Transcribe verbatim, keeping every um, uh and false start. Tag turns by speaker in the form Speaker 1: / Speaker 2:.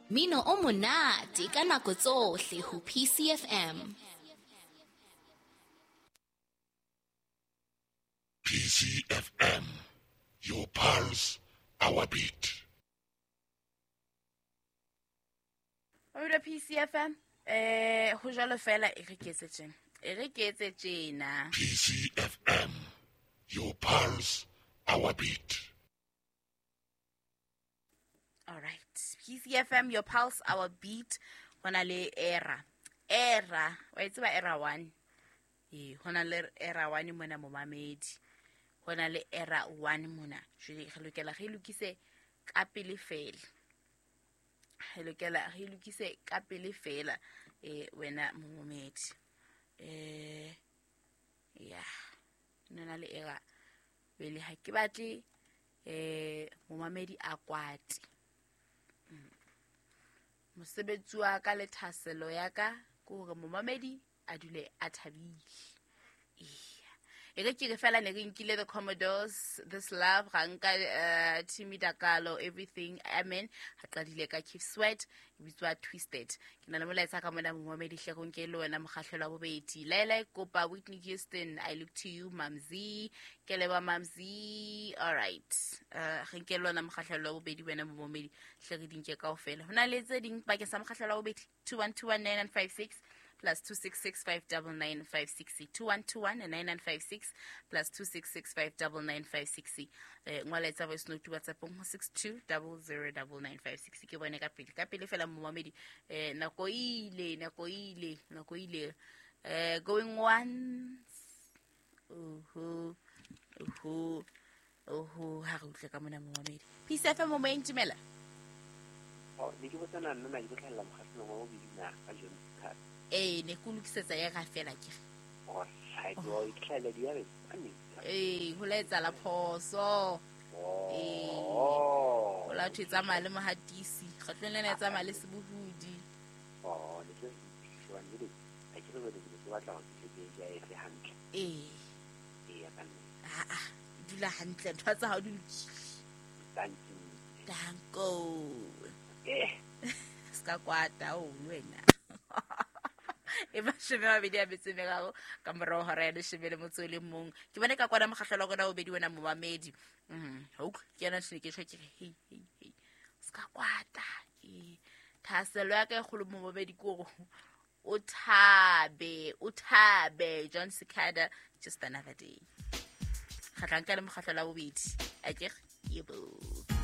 Speaker 1: Mino o monate ka nako tsohle ho P C F M.
Speaker 2: P C F M, your pulse, our beat.
Speaker 3: Mamelo P C F M, eh ho jwalo fela e re ke etse tjena. E re ke etse tjena.
Speaker 2: P C F M, your pulse, our beat.
Speaker 3: All right. P C F M, your pulse, our beat. Hona le era. Era. Wa e tseba era one. Eh, hona le era one mona momamedi. Hona le era one mona. Jwale re lokela re lokise ka pele fela. Re lokela re lokise ka pele fela eh wena momamedi. Eh ya. Nna le era pele ha ke batle eh momamedi a kwate. Mosebetsi wa ka le thaselo ya ka ke hore momamedi a dule a thabile. E re ke re fela ne re nkile the Commodores, This Love, ra nka uh, Timmy Dakalo, Everything, Amen. Ha qadile ka Keith Sweat, e bitswa Twisted. Ke na le molaetsa ka mona momamedi hle go nke le wena mokgahlelo wa bobedi. Laela kopa Whitney Houston, I Look to You, Mamzi, ke leba Mamzi. All right. Uh, re nke le wena mokgahlelo wa bobedi wena momamedi hle re dinke kaofela. Hona le tse ding bakeng sa mokgahlelo wa bobedi two one two one nine nine five six plus two six six five nine nine five six two one two one nine nine five six plus two six six five nine nine five six. Eh ngwala etsa voice note WhatsApp ho six two zero zero nine nine five six. Ke bone ka pele ka pele fela momamedi eh nako ile nako ile nako ile eh going once. Oho oho oho ha re utlwe ka mona momamedi. P C F M mo intumela.
Speaker 4: Oh ne ke botsana nna na ke tlhalla mokgahlelong wa bobedi na ka John Card.
Speaker 3: Eh ne ke lokisetsa ya ga fela ke.
Speaker 4: Oh, right, well, e tlhalla di ya re.
Speaker 3: Eh ho la etsa la phoso. Eh ho la thwe tsamaya le mohatisi, kgatlong lena e tsamaya le sebohudi.
Speaker 4: Oh, ne ke shebane le a ke re ke ke batla hore ke ke ya efe hantle.
Speaker 3: Eh.
Speaker 4: Eh ya ka nne.
Speaker 3: Ah ah, dula hantle ntho tsa hao di lokile.
Speaker 4: Thank you.
Speaker 3: Danko.
Speaker 4: Eh.
Speaker 3: Ska kwata o wena. E mashome a mabedi a metso e meraro ka morao hora ya leshome le motso o le mong. Ke bone ka kwana mokgahlelo wa rona o bedi wena momamedi. Mm, ha utlwe ke yena tjhe ke tjho ke re hei hei hei. Ska kwata. Eh thahasello ya ka e kgolo momamedi ke hore o thabe, o thabe John Cicada, Just Another Day. Kgatlang ka le mokgahlelo wa bobedi. Akere yebo.